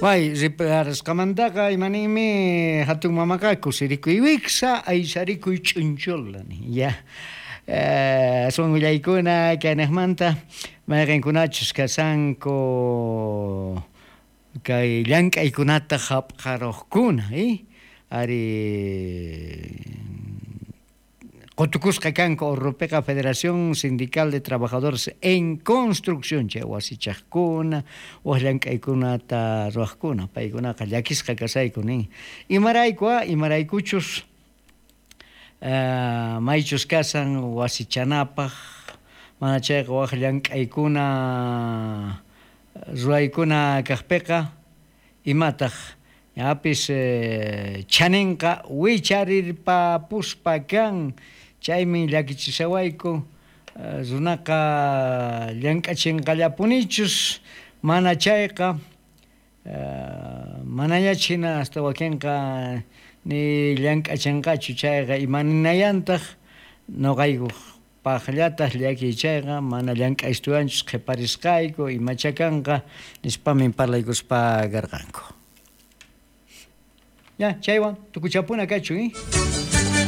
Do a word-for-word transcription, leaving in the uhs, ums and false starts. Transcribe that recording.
Pay riparasqamantaqa imaninmi hatun mamaqa kusirikuy wiksa aysarikuy ch'unchula ya. Aswan willaykuna kaynaqmanta mayqinkunachus kashanku kay llank'aykunata hap'qaruqkuna eh ari qutukusqa kanku Urrupiqa Federación Sindical de Trabajadores en Construcción chay wasichaqkuna wak llank'aykunata ruwaqkuna paykunaqa llakisqa kasayku nin imarayku a imaraykuchus Uh, maychus kasan wasichanapaq mana chayqa wak llank'aykuna ruwaykuna kaqpiqa imataq ñapis eh, chaninqa wicharirpapuspa kan chaymi llakichisawayku uh, runaqa llank'achinqallapunichus mana chayqa uh, manañach hina hasta wakinqa ni llank'achinqachu chayqa imaninayantaq noqayku paqllataq llakiy chayqa mana llank'aystuwanchus qhiparisqayku imachakanqa nispamin parlaykuspa karqanku. Ya, chaywan tukuchapuna kachu, eh?